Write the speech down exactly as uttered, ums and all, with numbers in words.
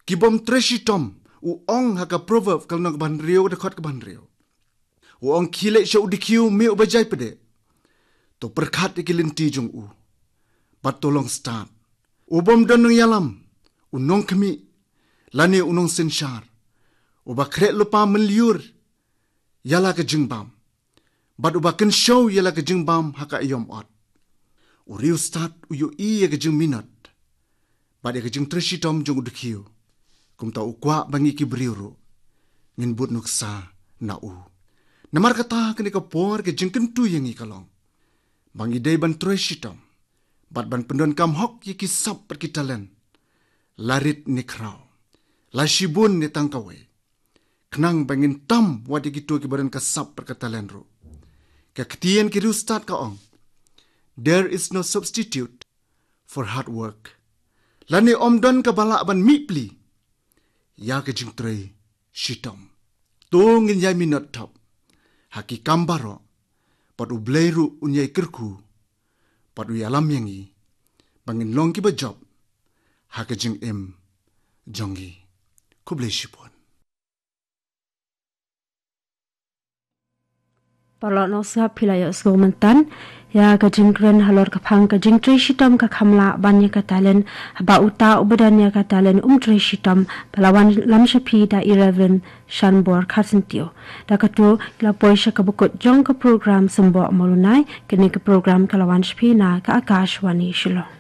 Ki bym trei shitom, u ong ha ka Proverb ka lynnong ba hynriew, ka dkhot ka ba hynriew. U ong, khie leit sha u dkhiew, me uba jai pdeng. To pyrkhat ïa ki lynti jong u. Bad to long stad. U bym don nongïalam, u nongkhmih, lane u nongsynshar. Uba khreh lypa mynlyiur ïa la ka jingbam. Bad uba kynshew ïa la ka jingbam ha ka aïom ot. U riewstad u ïohi ïa ka jingminot. Bad ïa ka jingtrei shitom jong u dkhiew. Kumta u kwah ba ngi ki briew ruh ngin bud nuksa na u. Namar kata kane ka por ka jingkyntu ïa ngi ka long ba ngi dei ban trei shitom. Bad ban pyndonkam hok ïa ki sap bad ki talent. La rit ne khraw. La shibun ne tang kawei. Khnang ba ngin tam wat ïa kito kiba don ka sap bad ka talent ruh. Ka ktien ki riewstad ka ong, "There is no substitute for hard work." Lane ym don kaba lah ban mih pli ïa ka jingtrei shitom. To ngin ïai minot thap ha ki kam baroh, bad U Blei ruh un ïai kyrkhu, bad u ïalam ïa ngi ba ngin long kiba jop ha ka jingim jong ngi. Khublei shibun. Paralok, nusngap, phi la ïohsngew mynta ïa ka jingkren halor ka phang ka jingtrei shitom ka kham lah ban ïa ka talent. Haba uta uba don ïa ka talent um trei shitom, ba la wanlam sha phi da i Reverend Shanbor Kharsyntiew. Da kata la poi sha kaba kut jong ka program Symboh Mawlynnai. Kane ka program ka la wan sha phi na ka Akashvani Shillong.